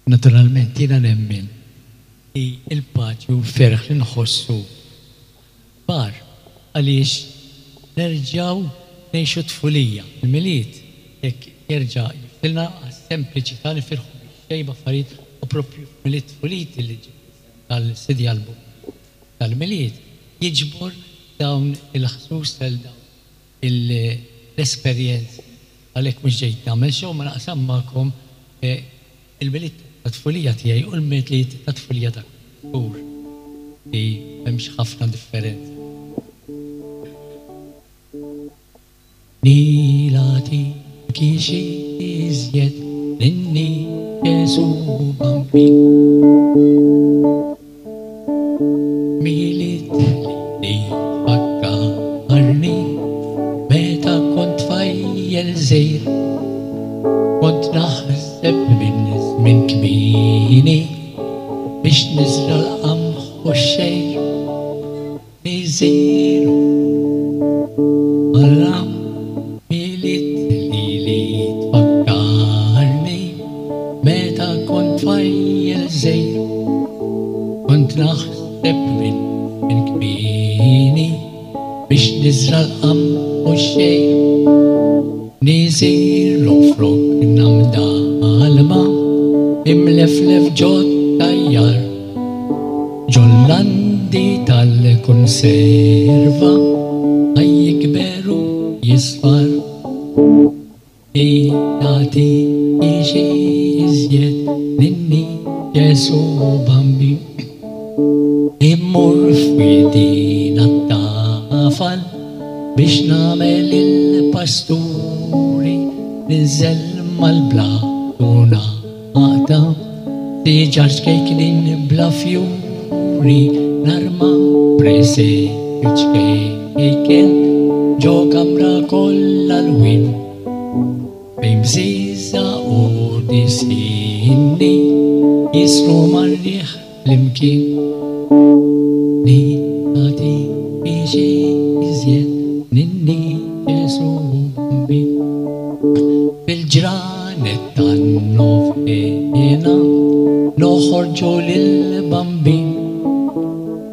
Naturalment jiena nemmen li l-paċi u l-ferħ li nħossu kbar għaliex nerġgħu ngħixu t-tfulija. Il-Milied hekk jerġa' jiftilna għas-sempliċità nifirħu bix-xejn b'affarijiet u proprju f'Milied tfuliti li ġib l-isem tal-CD album tal-Milied jiġbor dawn il-ħsus tal dawn l-esperjenzi. Għalhekk mhux ġejt nagħmel show ma naqsam magħkom il-Milied tat-tfulija tiegħi u l-Milied tat-tfulija ta' żgur li m'hemmx ħafna differenza. Nilati kixi iżjed ninni Ġesu Bambin. Milied li tfakkarni meta kont tfajjel żgħir. Kont naħseb minn żmien kmieni biex niżra' l-qamħ u x-xgħir. Niżilu Alla Milied lili tfakkarni meta kont tfajjel żgħir. Kont naħseb minn żmien kmieni biex niżra' l-qamħ u x-xgħir. Niżilu f'rokna mdallma imleflef ġot-tajjar. Ġol-landi tal-kunserva ħa jikber u jisfar. Li nagħti xi iżjed minni Ġesù Bambin. Immur f'widina t-tafal biex nagħmel il-pasturi ninżel mal-blat u Għaqda siġar ċkejknin bla fjuri narma presepju ċkejken ġo kamra kollha lwien fejn bżieża u disinni jisru mar-riħ flimkien. Li nagħti xi iżjed ninni Ġesù Bambin. Fil-ġranet tan-novena noħorġu lill-Bambin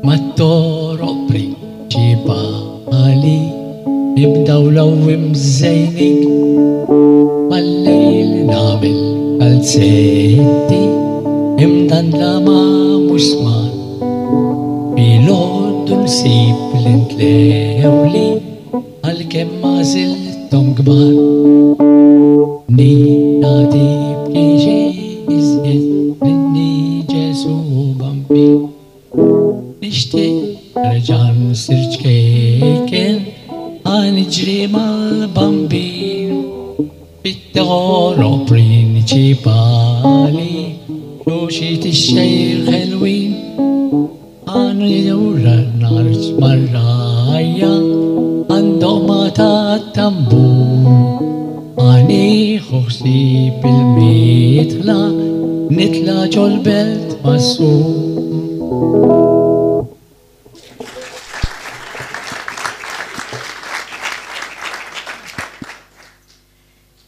mat-toroq prinċipali nibdaw l-għawwi mżejnin mal-lejl nagħmel kalzetti imdandla ma' musmar filgħodu nsib li ntlewli Għalkemm għażilthom kbar. Nina tibki xi iżjed minni Ġesù Bambin. Nixtieq nerġa' nsir ċkejken ħa niġri mal-Bambin. Fit-toroq prinċipali xuxit ix-xgħir ħelwin. Għanu jura n-narġ mar-rgħajja għand-doqma tat-tambur. Ħa nieħu ħsieb il-mitħla nitla' ġol-belt mas-sur.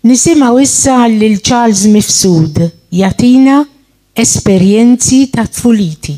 Nisimgħu issa lil Charles Mifsud jagħtina esperjenzi ta' tfuliti.